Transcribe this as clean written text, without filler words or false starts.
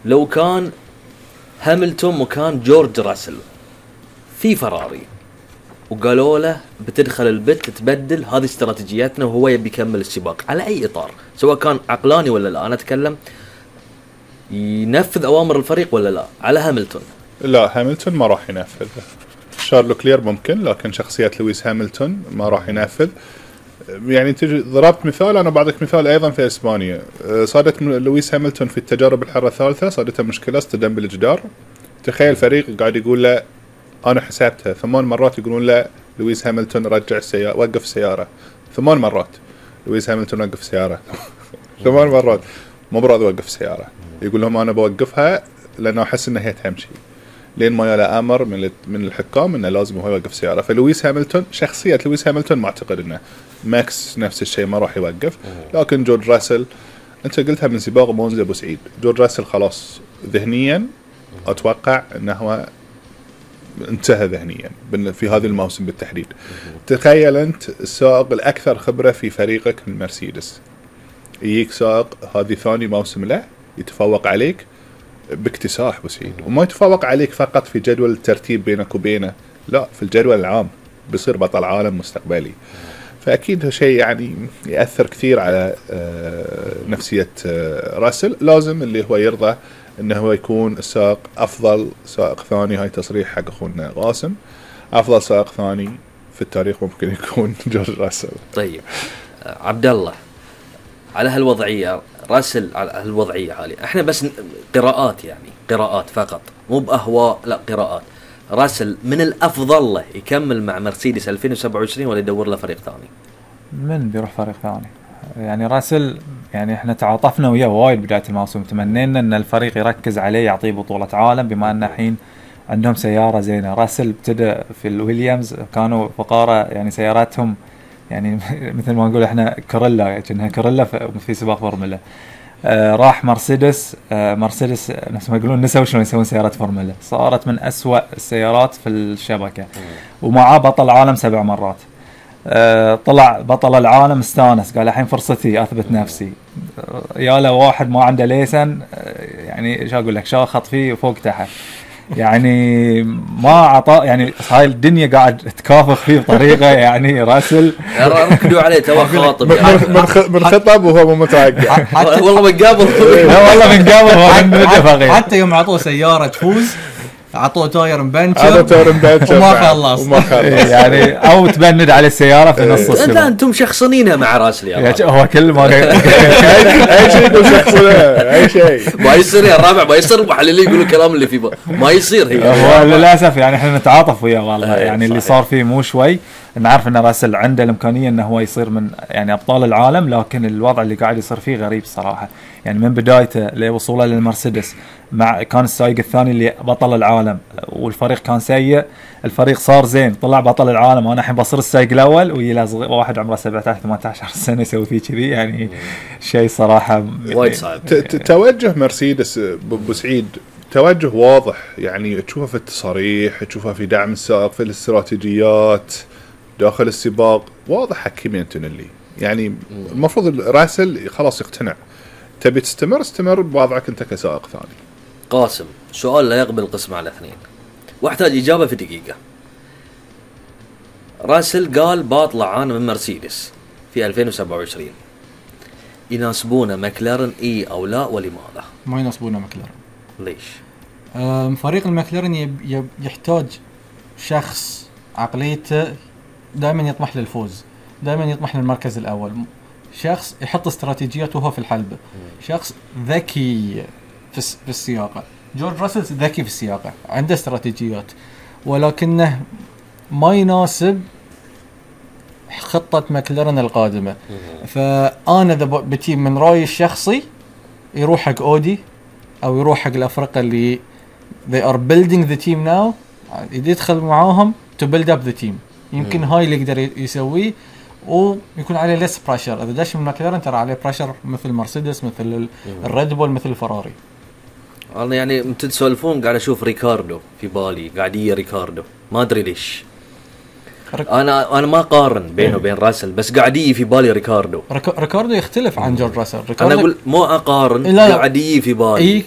لو كان هاملتون مكان جورج راسل في فراري وقالوا له بتدخل البت تبدل، هذه استراتيجيتنا، وهو يبي يكمل السباق على اي اطار، سواء كان عقلاني ولا لا، انا اتكلم ينفذ اوامر الفريق ولا لا على هاملتون. لا، هاملتون ما راح ينفذ. شارلو كلير ممكن، لكن شخصية لويس هاملتون ما راح ينفذ. يعني تجي ضربت مثال، انا بعطيك مثال ايضا في اسبانيا. صادت لويس هاملتون في التجارب الحرة الثالثة صادته مشكلة، اصطدم بالجدار. تخيل فريق قاعد يقول له انا حسابتها 8 مرات، يقولون له لويس هاملتون رجع السيارة، وقف السيارة 8 مرات. لويس هاملتون وقف السيارة 8 مرات، مو براضي يوقف السيارة. يقول لهم انا بوقفها لانه احس انها هي تمشي، لين ما يلا امر من الحكام انه لازم هو يوقف السيارة. فلويس هاملتون، شخصية لويس هاملتون ما اعتقد انه. ماكس نفس الشيء ما راح يوقف. لكن جورج راسل، انت قلتها من سباق مونزا ابو سعيد، جورج راسل خلاص ذهنيا اتوقع انه هو انتهى ذهنيا في هذا الموسم بالتحديد. تخيل انت السائق الاكثر خبرة في فريقك من مرسيدس، يجيك سائق هذه ثاني موسم له يتفوق عليك باكتساح بسيط، وما يتفوق عليك فقط في جدول الترتيب بينك وبينه، لا في الجدول العام بيصير بطل عالم مستقبلي. فأكيد شيء يعني يأثر كثير على نفسية راسل. لازم اللي هو يرضى انه هو يكون السائق افضل سائق ثاني، هاي تصريح حق اخونا قاسم، افضل سائق ثاني في التاريخ ممكن يكون جورج راسل. طيب عبد الله، على هالوضعية راسل، على هالوضعية هذه احنا بس قراءات، يعني قراءات فقط مو بأهواء، لا قراءات. راسل من الافضل له يكمل مع مرسيدس 2027 ولا يدور له فريق ثاني؟ من بيروح فريق ثاني؟ يعني راسل يعني احنا تعاطفنا وياه وايد بداية الموسم، تمنينا ان الفريق يركز عليه، يعطيه بطولة عالم، بما ان الحين عندهم سيارة زينة. راسل ابتدى في الويليامز، كانوا فقارة يعني سياراتهم يعني مثل ما نقول احنا كوريلا، كأنها كوريلا في سباق فورمولا. راح مرسيدس، مرسيدس نفس ما يقولون نسوا شلون يسوون سيارات فورمولا، صارت من أسوأ السيارات في الشبكة، ومعاه بطل عالم 7 مرات. طلع بطل العالم، استانس، قال الحين فرصتي اثبت نفسي. يا له واحد ما عنده ليسن، يعني شو اقول لك، شاخط فيه فوق تحت، يعني ما عطى، يعني هاي الدنيا قاعد تكافح فيه بطريقه يعني. راسل ركدوا عليه تو خاطب من خطب وهو مو متوقع. والله من قبل لا والله من قبل حتى يوم عطوه سياره تفوز عطوه تاير مبنشر وما خلص يعني، او تبند على السياره في نص السباق. انتم شخصنينها مع راسل يا هو كل ما اي شيء يقول شخصنا، اي شيء ما يصير يا الرابع، ما يصير. محللين يقولوا الكلام اللي فيه ما يصير. هو للاسف يعني احنا نتعاطف وياه والله، يعني اللي صار فيه مو شوي. نعرف ان راسل عنده الامكانيه انه هو يصير من يعني ابطال العالم، لكن الوضع اللي قاعد يصير فيه غريب الصراحه. يعني من بدايته لوصوله للمرسيدس، مع كان السائق الثاني اللي بطل العالم والفريق كان سيء، الفريق صار زين، طلع بطل العالم، وانا الحين بصير السائق الاول ويلا واحد عمره 17 18 سنه يسوي فيه كذي، يعني شيء صراحه وايد صعب. توجه مرسيدس ابو سعيد توجه واضح، يعني تشوفه في التصاريح، تشوفه في دعم السائق، في الاستراتيجيات داخل السباق، واضح حق كيمي أنتونيلي. يعني المفروض راسل خلاص يقتنع، تبي تستمر استمر بوضعك انت كسائق ثاني. قاسم، سؤال لا يقبل القسم على 2 واحتاج إجابة في دقيقة. راسل قال بطلع أنا من مرسيدس في 2027، يناسبونه ماكلارن إيه أو لا، ولماذا؟ ما يناسبونه ماكلارن. ليش؟ فريق الماكلارن يحتاج شخص عقليته دائما يطمح للفوز، دائما يطمح للمركز الأول، شخص يحط استراتيجيات وهو في الحلبة، شخص ذكي في السياقة. جورج راسل ذكي في السياقة، عنده استراتيجيات، ولكنه ما يناسب خطة ماكلارن القادمة. فأنا ذا بتيم من رأيي الشخصي يروح حق أودي أو يروح حق الأفرقة اللي they are building the team now، يدخل معاهم to build up the team. يمكن هاي اللي يقدر يسويه ويكون عليه less pressure. إذا داش من ماكلارن ترى عليه pressure مثل مرسيدس، مثل الريد بول، مثل الفراري. أنا يعني متسولفون قاعد أشوف ريكاردو في بالي، قاعدية ريكاردو ما أدري ليش. أنا ما قارن بينه وبين راسل، بس قاعدية في بالي ريكاردو يختلف عن جورج راسل. أنا أقول مو أقارن، قاعدية في بالي.